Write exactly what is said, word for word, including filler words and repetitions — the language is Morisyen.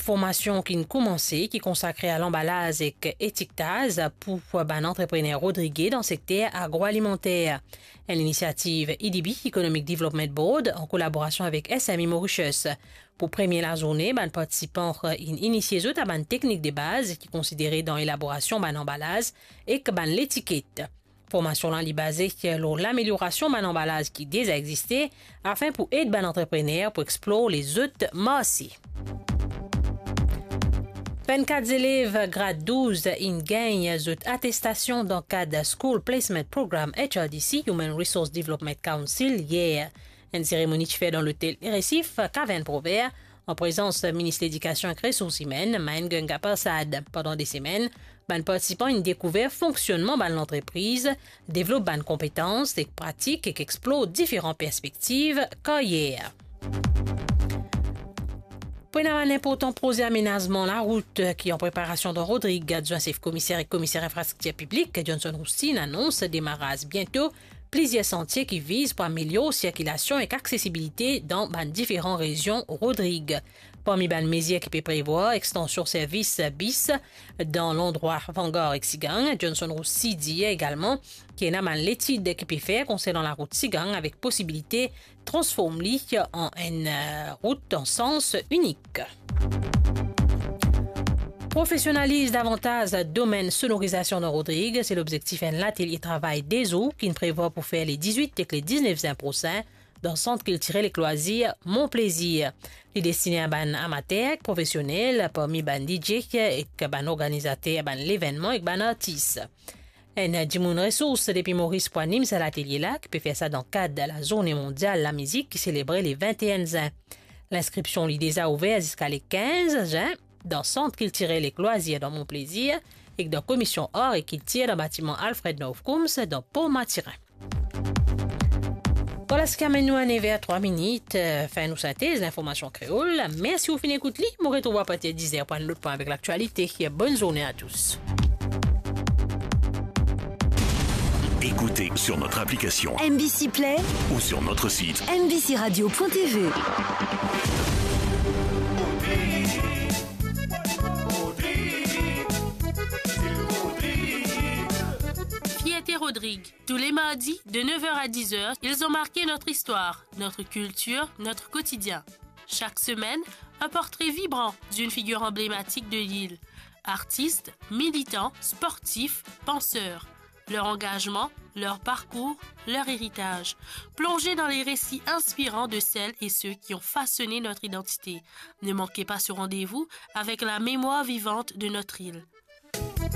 Formasion ki'nn koumanse, ki konsakre a lanbalaz ek etiktaz pou bann antreprener rodrige dan sekter agroalimanter. Enn linisiativ E D B, Economic Development Board, an kolaborasion avek S M E Mauritius. Pou premie lazourne, bann partisipan inn inisie zot a bann teknik de baz ki konsidere dan elaborasion bann anbalaz ek bann letiket. Formasion la li baze lor lameliorasion bann anbalaz ki deza existe, afin pou ed bann antreprener pou explor lezot marse. Vennkat zelev grad douz inn gagn zot atestasion dan kad School Placement Program H R D C, Human Resource Development Council, yer. Enn seremoni ti fer dan lotel Resif, Kavern Provert, an prezans Minis Ledikasion ek Resours Imenn, Maen Ganga Persad. Pandan de semenn, bann partisipan inn dekouver fonksionnman bann lantrepriz, devlop bann konpetans ek pratik ek explor diferan perspektiv karyer. Pou ena bann inportan proze amenazman larout ki an preparasion dan Rodrig, adwin sef komiser ek komiser infrastriktir piblik Johnson Roustin anons demaraz biento plizier santie ki viz pou amelior sirkilasion ek aksesibilite dan bann diferan rezion Rodrig. Parmi bann mezir ki pe prevwar, extansion servis bis dan landrwa Vangar ek Sigang. Johnson Roustin dir egalman ki ena bann letid ki pe fer konsernan larout Sigang avek posibilite transform li an enn, eh, rout an sans inik. Profesionaliz davantaz domenn sonorizasion dan Rodrig, se lobzektif enn latelie travay de zour ki'nn prevwar pou fer le dizwit ek le diznef zin prosin dan Sant Kiltirel ek Lwazir Mon Plezir. Li destine a bann amater ek profesionel, parmi bann D J ek bann organizater bann levennman ek bann artis. Enn dimoun resours depi Moris pou anim sa latelie la, ki pe fer sa dan kad Lazourne Mondial Lamizik ki selebre le vinte-e-enn zin. Linskripsion li deza ouver ziska le kinz zin dan Sant Kiltirel ek Lwazir dan Mon Plezir ek dan Komisyon Ar ek Kiltir dan batiman Alfred North Coombs dan Port Mathurin. Vwala seki amenn nou a nef er trwa minit, eh, fin nou sintez linformasion kreol. Mersi ou finn ekout li. Mo retrouv ou apartir diz er pou enn lot pwin avek laktialite. Bonn zourne a tous. Écoutez sur notre application M B C Play ou sur notre site M B C radio point T V. Fierté Rodrigue. Tous les mardis, de neuf heures à dix heures, ils ont marqué notre histoire, notre culture, notre quotidien. Chaque semaine, un portrait vibrant d'une figure emblématique de l'île. Artistes, militants, sportifs, penseurs. Leur engagement, leur parcours, leur héritage. Plongez dans les récits inspirants de celles et ceux qui ont façonné notre identité. Ne manquez pas ce rendez-vous avec la mémoire vivante de notre île.